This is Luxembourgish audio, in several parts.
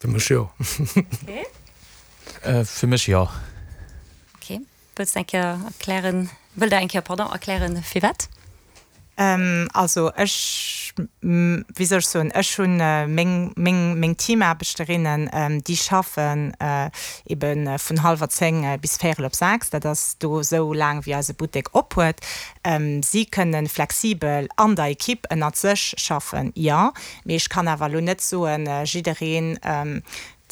Fir mech jo. Okay. Fir mech jo. Okay. Wëlls de eng Kéier erklären, wëllt Der eng Kéier, pardon, erklären, firwat? Also ech, wéi soll ech soen, ech hunn meng, meng, meng Teamaarbechterinnen, déi schaffen ebe vun hallwer 10 bis véierel op 6, dat ass do esou laang wéi eise Buttek op huet. Si kënne flexibel an der Equipe ënnert sech schaffen, jo, mee ech kann awer elo net soen, jiddereen,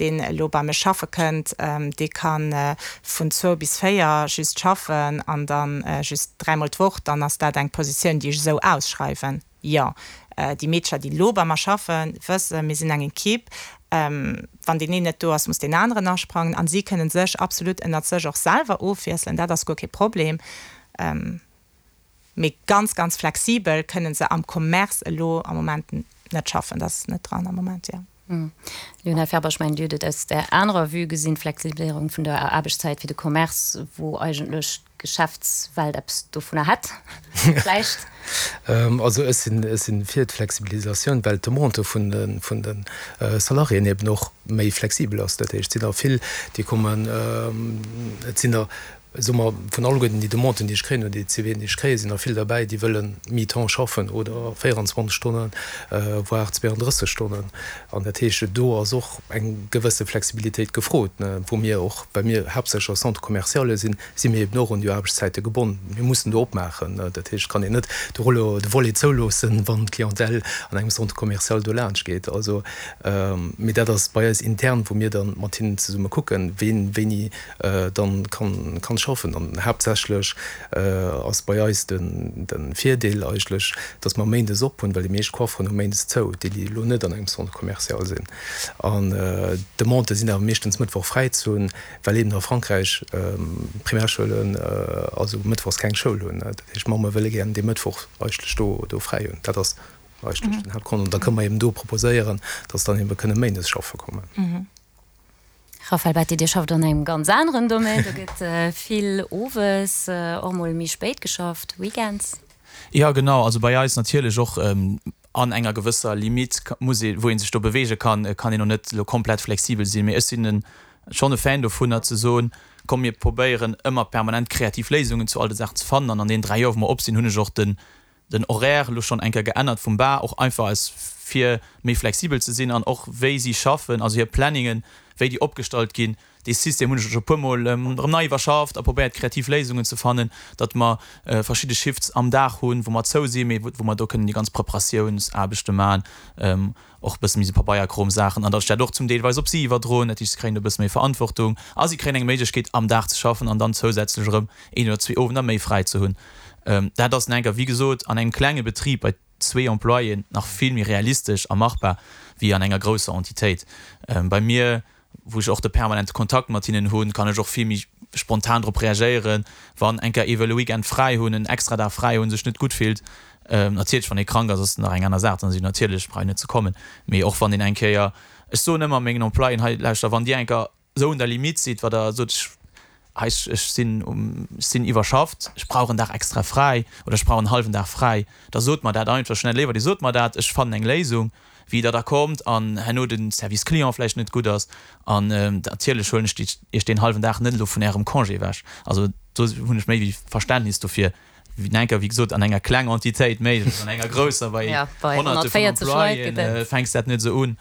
deen elo bei mech schaffe kënnt, dee ka vun zwou bis 4 just schaffen an da just dräimol d'Woch, dann ass dat eng Positioun, déi ech esou ausschreiwen. Jo, déi Meedercher, déi elo bei mer schaffen, wëssen, mir sinn eng Equipe, wann deen een net do ass, muss deen aneren asprangen a si kënne sech absolut ënnert sech och selwer ofwiesselen, dat ass guer kee Problem. Mee ganz, ganz flexibel kënne se am Commerce elo am Moment net schaffen, dat ass net dran am Moment, jo. Lionel Ferber, Ech mengen, Dir hutt et aus där anerer Vue gesinn, d'Flexibiléierung vun der Aarbechtszäit fir de Commerce, wou eigentlech d'Geschäftswelt eppes dovunner hätt vläicht. Also ech sinn, ech sinn fir d'Flexibilisatioun, well d'Demande vun de, vun de Salariéen eben och méi flexibel ass. Dat heescht, et sinn der vill, déi kommen, et sinn der Soe mer, vun alleguerten déi Demanden, déi ech kréien, oder déi CVen, déi ech kréien, sinn der vill derbäi, déi wëlle mi-temps schaffen oder 24 Stonnen, voire 32 Stonnen. An dat heescht, do ass och eng gewësse Flexibilitéit gefrot, wou mir och, well mir haaptsächlech a Centre-commerciale sinn, si mir eben och un déi Aarbechtszäite gebonnen. Mir mussen do opmaachen. Dat heescht, et kann een net de Rollo, de Volet zouloossen, wann d'Clientèle an engem Centre commercial do laanscht geet. Also, mee dat ass bei eis intern, wou mir da mat hinnen zesumme kucken, ween wéini dann kann schaffen. An haaptsächlech ass bei eis den Virdeel eigentlech, dass mer méindes op hunn, well déi meescht Coifferen hu méindes zou, déi déi elo net an engem Centre commercial sinn. An d'Demandë sinn awer meeschtens Mëttwoch fräi ze hunn, well eben a Frankräich d'Primärschoulen also mëttwochs keng Schoul hunn. Dat heescht, d'Mamme wëlle gären dee Mëttwoch eigentlech do fräi hunn. Dat ass eigentlech den Haaptgrond. An da kënne mer eben do proposéieren, dass dann ebe kënne méindes schaffe kommen. Raphaël Betti, Dir schafft an engem ganz aneren Domaine, do gëtt vill owes, och mol méi spéit geschafft, weekends. Jo genau, also bei eis natierlech och an enger gewësser Limite muss ee, wou ee sech do beweege kann, kann een och net elo komplett flexibel sinn, mee ech sinn schonn e Fan dovunner ze soen, komm mir probéieren ëmmer permanent kreativ Léisungen zu all de Saachen ze fannen an an deenen 3 Joer wou mer op sinn hunn ech och den den Horaire elo schonn eng Kéier geännert vum Bar, och einfach aus fir méi flexibel ze sinn an och wéi si schaffen, also hir Planningen, wéi déi opgestallt ginn. Dee System hunn ech elo scho e puer Mol erëm nei iwwerschafft a probéiert kreativ Léisungen ze fannen, datt mer verschidde Shifts am Dag hunn, wou mer zou sinn, mee wou mer do kënnen déi ganz Preparatiounsaarbechte maachen, och e bësse méi esou Pabeierkromsaachen an datt ech dat och zum deelweis op si iwwerdroen, dat heescht si kréien do e bësse méi Verantwortung a si kréien eng Méiglechkeet am Dag ze schaffen an dann zousätzlech erëm een oder zwee Owender méi fräi ze hunn. Dat ass enker, wéi gesot, an engem klenge Betrib bei zwee Employéen nach vill méi realistesch a machbar wéi an enger grousser Entitéit. Bei mir, wou ech och de permanente Kontakt mat hinnen hunn, kann ech och vill méi spontan drop reagéieren, wann enker ee wëll e Weekend fräi hunn, en extra Dag fräi hunn, sech net gutt fillt. Natierlech, wann ee krank ass, ass et nach eng aner Saach, dann ass et natierlech, brauch een net ze kommen. Mee och wann een eng Kéier, ech soen ëmmer mengen Employéen, hei lauschter, wann Dir eng Kéier esou un der Limite sidd, wat Der sot, ech, hei, ech sinn um, ech sinn iwwerschafft, ech brauch en Dag extra fräi oder ech brauch en hallwen Dag fräi, da sot mer dat einfach schnell. Léiwer Dir sot mer dat, ech fannen eng Léisung, wéi Der da kommt an herno de Service client vläicht net gutt ass. An natierlech huelen ech Iech deen hallwen Dag net elo vun Ärem Congé ewech. Also do hunn ech méi wéi Verständnis dofir. Enker, wéi gesot, an enger kleng Entitéit méiglech, an enger grousser, bei Honnerte vun Employéen, fänks dat net esou un.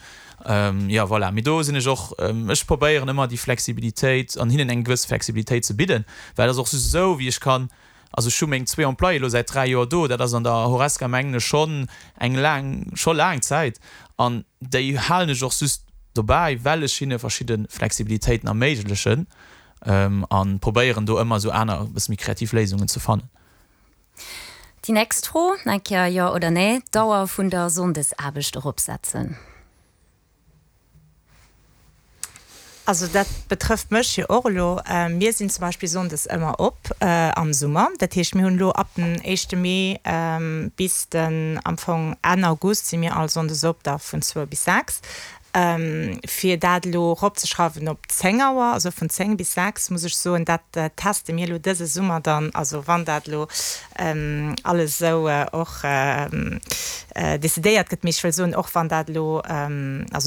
Jo, voilà. Mee do sinn ech och, ech probéieren ëmmer déi Flexibilitéit an hinnen eng gewëss Flexibilitéit ze bidden, well et ass och just esou, wéi ech kann, also ech hu meng zwee Employéë elo säit 3 Joer do, dat ass an der Horesca, mengen ech, schonn eng laang, scho laang Zäit an déi halen ech och just dobäi, well ech hinne verschidde Flexibilitéiten erméiglechen. An probéieren do ëmmer esou aner, e bësse méi kreativ Léisungen ze fannen. Déi nächst Fro, eng Kéier Jo oder Nee, D'Dauer vun der Sonndesaarbecht eropsetzen? Also dat betrëfft mech jo och elo. Mir sinn zum Beispill sonndes ëmmer op am Summer. Dat heescht, mir hunn elo ab den éischte Mee bis den am Fong Enn August si mir all sonndes op, da vun zwou bis 6. Fir dat elo eropzeschrauwen op 10 Auer, also vun 10 bis 6, muss ech soen, dat teste mir elo dëse Summer dann, also wann dat elo alles esou och decidéiert gëtt. Mee ech wëll soen, och wann dat elo, also.